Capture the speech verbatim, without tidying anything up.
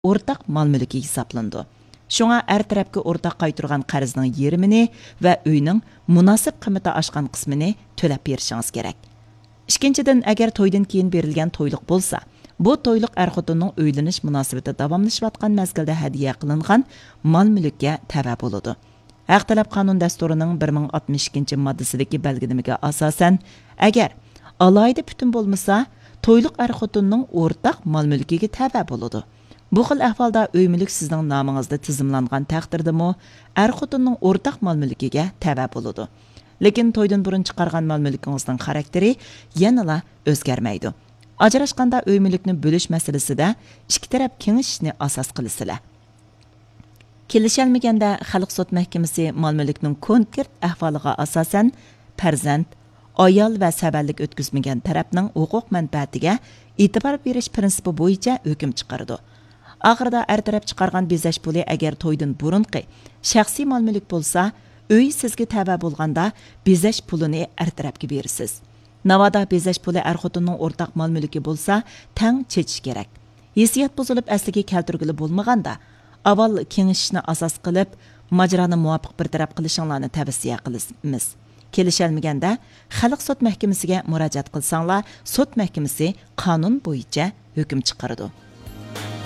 ئورتاق مال مۈلكى ھېسابلىنىدۇ. شۇڭا ئەر تەرەپكە ئورتاق قايتۇرغان قەرزنىڭ يېرىمىنى ۋە ئۆينىڭ مۇناسىپ قىممىتى ئاشقان قىسمىنى تۆلەپ بېرىشىڭىز كېرەك. ئىككىنچىدىن، ئەگەر تويدىن كېيىن بېرىلگەن تويلۇق بولسا، بۇ تويلۇق ئەر خوتۇننىڭ ئۆيلىنىش مۇناسىۋىتى داۋاملىشىۋاتقان مەزگىلدە ھەدىيە قىلىنغان مال مۈلۈككە تەۋە بولىدۇ. ھەق تەلەپ قانۇن دەستۇرىنىڭ بىر مىڭ ئاتمىش ئىككىنچى ماددىسىدىكى بەلگىلىمىگە ئاساسەن، ئەگەر ئالاھىدە پۈتۈن بولمىسا، تويلۇق ئەر خوتۇننىڭ ئورتاق مال مۈلكىگە تەۋە بولىدۇ. بۇ خىل ئەھۋالدا ئۆي مۈلۈك سىزنىڭ نامىڭىزدا تىزىملانغان تەقدىردىمۇ، ئەر خوتۇننىڭ ئورتاق مال مۈلكىگە تەۋە بولىدۇ. لېكىن تويدىن بۇرۇن چىقارغان مال مۈلكىڭىزنىڭ خاراكتېرى يەنىلا ئۆزگەرمەيدۇ. ئاجراشقاندا ئۆي مۈلۈكنى بۆلۈش مەسىلىسىدە ئىككى تەرەپ كېڭىشىشنى ئاساس قىلىسىلەر. كېلىشەلمىگەندە، خەلق سوت مەھكىمىسى مال مۈلۈكنىڭ كونكرېت ئەھۋالىغا ئاساسەن، پەرزەنت، ئايال ۋە سەۋەنلىك ئۆتكۈزمىگەن تەرەپنىڭ ھوقۇق مەنپەئەتىگە ئېتىبار بېرىش پىرىنسىپى بويىچە ھۆكۈم چىقىرىدۇ. ئاخىرىدا ئەر تەرەپ چىقارغان بېزەش پۇلى ئەگەر تويدىن بۇرۇنقى شەخسىي مال مۈلۈك بولسا، ئۆي سىزگە تەۋە بولغاندا بېزەش پۇلىنى ئەر تەرەپكە بېرىسىز. ناۋادا بېزەش پۇلى ئەر خوتۇننىڭ ئورتاق مال مۈلكى بولسا، تەڭ چېچىش كېرەك. ھېسسىيات بۇزۇلۇپ ئەسلىگە كەلتۈرگىلى بولمىغاندا، ئاۋۋال كېڭىشىشنى ئاساس قىلىپ، ماجىرانى مۇۋاپىق بىر تەرەپ قىلىشىڭلارنى تەۋسىيە قىلىمىز. كېلىشەلمىگەندە، خەلق سوت مەھكىمىسىگە مۇراجىئەت قىلساڭلار، سوت مەھكىمىسى قانۇن بويىچە ھۆكۈم چىقىرىدۇ.